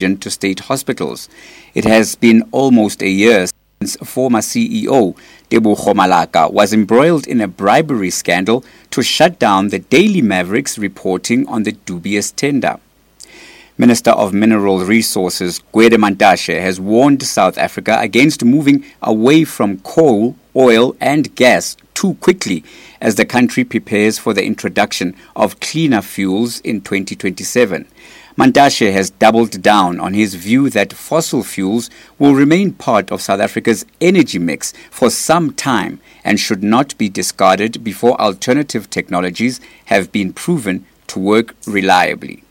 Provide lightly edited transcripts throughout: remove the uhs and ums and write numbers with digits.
To state hospitals. It has been almost a year since former CEO Tebogo Malaka was embroiled in a bribery scandal to shut down the Daily Mavericks reporting on the dubious tender. Minister of Mineral Resources Gwede Mantashe has warned South Africa against moving away from coal, oil and gas too quickly as the country prepares for the introduction of cleaner fuels in 2027. Mantashe has doubled down on his view that fossil fuels will remain part of South Africa's energy mix for some time and should not be discarded before alternative technologies have been proven to work reliably.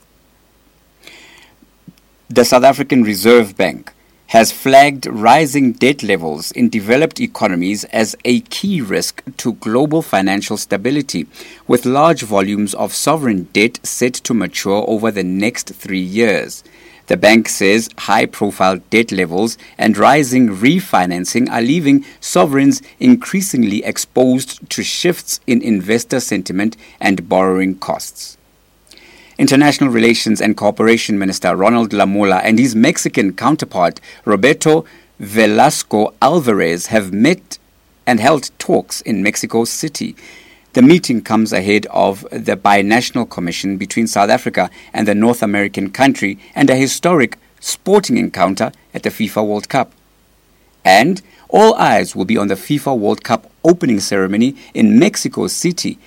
The South African Reserve Bank has flagged rising debt levels in developed economies as a key risk to global financial stability, with large volumes of sovereign debt set to mature over the next three years. The bank says high profile debt levels and rising refinancing are leaving sovereigns increasingly exposed to shifts in investor sentiment and borrowing costs. International Relations and Cooperation Minister Ronald Lamola and his Mexican counterpart Roberto Velasco Alvarez have met and held talks in Mexico City. The meeting comes ahead of the binational commission between South Africa and the North American country and a historic sporting encounter at the FIFA World Cup. And all eyes will be on the FIFA World Cup opening ceremony in Mexico City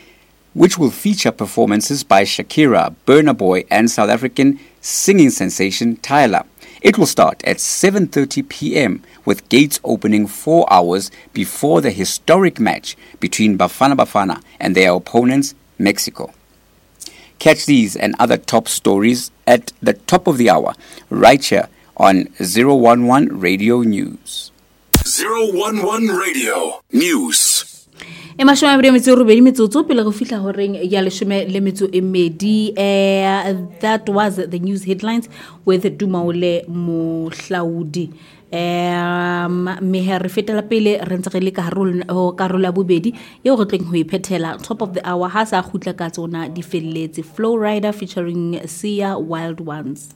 which will feature performances by Shakira, Burna Boy and South African singing sensation Tyla. It will start at 7:30 p.m. with gates opening 4 hours before the historic match between Bafana Bafana and their opponents Mexico. Catch these and other top stories at the top of the hour right here on 011 Radio News. 011 Radio News. e mashome a mabedi a metso e robedi metsotso pele go fihla horeng ya leshome le metso e medi eh, that was the news headlines with dumaole mohlaodi um mme he re fetela pele re ntse re le ka karolo ya bobedi eo re tleng ho e phethela top of the hour ha sa kgutla ka tsona di felletse flow rider featuring sia wild ones.